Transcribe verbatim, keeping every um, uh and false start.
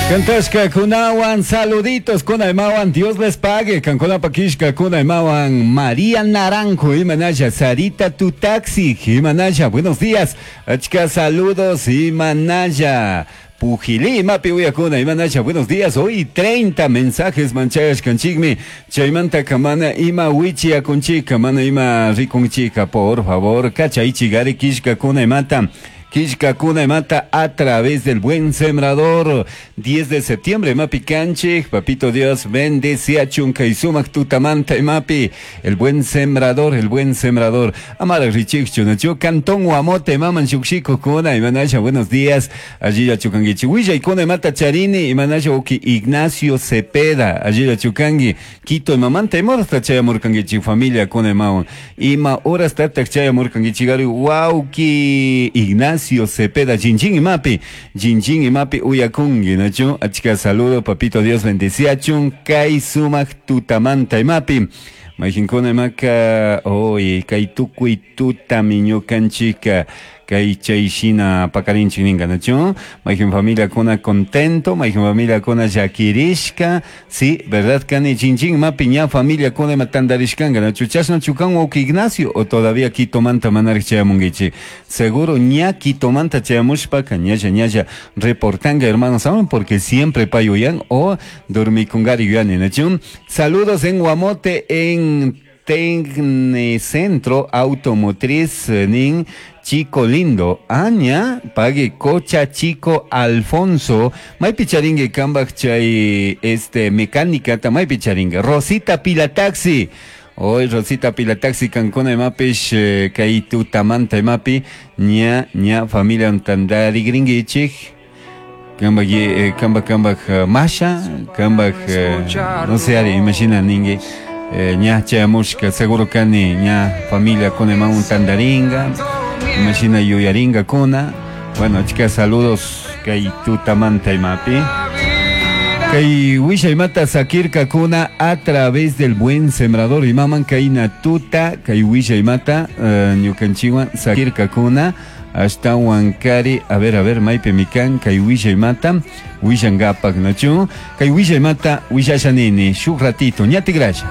Cantashka kunawan saluditos kunaymawan Dios les pague kankunapa kishka kunaymawan María Naranjo imanalla Sarita tu taxi imanalla buenos días achka saludos imanalla Pujilí, imapi uyakuna, imanalla, buenos días. Hoy treinta mensajes manchayashkanchikmi. Chaymanta kamana ima wichiyakunchika, mana ima rikunchika, por favor, kachaychigari kishkakuna imata. Kishkakuna imata a través del Buen Sembrador. diez de septiembre, Mapi Canchik, Papito Dios, bendice a Chunca y Sumac Tutamanta y Mapi, el Buen Sembrador, el Buen Sembrador. Amara Richik Chunachu, Cantón Guamote, Maman Shukshiko Kuna, Imanasha, buenos días. Allí ya Chukangichi, Huilla y Kuna Mata Charini, Imanasha Uki Ignacio Cepeda, allí ya Chukangi, Quito y Mamanta y Morasta Chayamurkangichi, familia Kuna Maun. Ima horas Tatak Chayamurkangichi, Gari, Wauki Ignacio Cepeda, Jinjin y Mapi, Jinjin y Mapi Uyakungi, ¿no? Achka saludo, papito Dios bendecía, chun, kai sumak tutamanta y mapi. Majinkuna maka, oye, kai tukui tutami ñukanchika, kai chayshina pakarinchik ninga, ¿no? Majin familia kuna contento, majin familia kuna yakirishka, sí, verdad, kani jinjin mapi ña familia kuna matandarishkanga, ¿no? Chasna chukan wauki Ignacio, o todavía Quitomanta manark chayamunguichi. Seguro ña Quitomanta chayamushpaka, ñalla ñalla reportanga, hermanos, ¿saben? Porque siempre payuyan o dormikungari yuyani, ¿no? Saludos en Guamote, en Tecnicentro Automotriz nin Chico Lindo, Aña, pague Cocha Chico Alfonso, Maypi charingue kambaj chay este mecánica, maypi charingue, Rosita Pilataxi, hoy Rosita Pilataxi kankuna imapish eh, kay tutamanta imapi, ña ña familia tandari gringuichik, kambaj eh, kambaj kambaj masha, kambaj eh, no sé, ari, imagina ningue. Eh, ña chayamushka seguro kani ña familia kuna imamun tandaringa imagina yuyaringa kuna. Bueno, chicas, saludos kay tutamanta imapi kay wisha imata sakirka kuna a través del Buen Sembrador imaman kay natuta kay wisha imata uh, ñukanchiwan sakirka kuna hasta Huancari, a ver, a ver, maypi mikan kay wisha imata wishangapak nachu kay wisha imata wishashanini shuk ratito ñatigrasha.